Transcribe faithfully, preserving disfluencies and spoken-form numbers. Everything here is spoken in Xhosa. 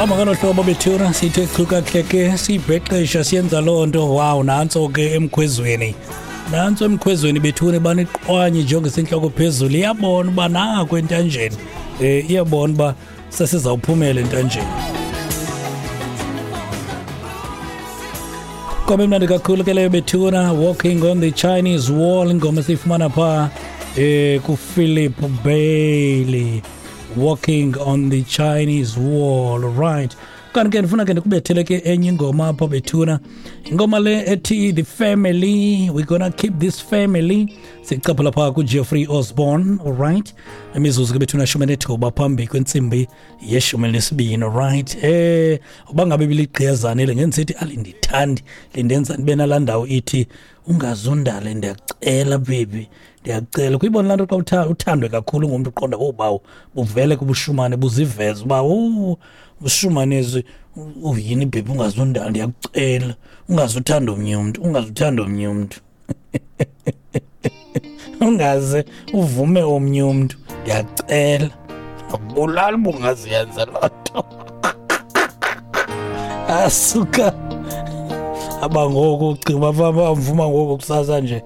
Hamba ngolo hlobo bethuna, sithe chu kakuhle ke, siyibhexesha, siyenza loo nto. Wow, nantso ke emkhwezweni, nantso emkhwezweni bethuna, baniqwanye njengesentloko phezulu. Iyabona uba nako entanjeni, um iyabona uba sesizawuphumela entanjeni. Ingoma emnandi kakhulu ke leyo bethuna, Walking on the Chinese Wall, ingoma esiyifumana phaa um kuPhilip Bailey, Walking on the Chinese Wall. Right, kanti ke ndifuna ke ndikubethele ke enye ingoma apha bethuna, ingoma le ethi The Family, we're gonna keep this family, sicaphula phaa kuJeffrey Osborne. Alright, imizuzu ke bethuna shumi nethoba phambi kwentsimbi yeshumi elinesibini. Alright, eh uba ngabe biligqiyazane le ngendisithi alindithandi, lindenza ndibe nalaa ndawo ithi ungazundale, ndiyacela baby, ndiyacela. Kuyibona laa nto xa uthandwe kakhulu ngumntu, uqonda obawo buvele kubushumane buziveze uba oh ushumanezi uyini baby, ungazundala, ndiyakucela, ungazuthanda omnye umntu, ungazuthanda omnye umntu, ungaze uvume omnye umntu, ndiyacela. Akubulali uba ungaziyenza loo nto. Asuka abangoku ucinga uba bamvuma ngoku kusasa nje.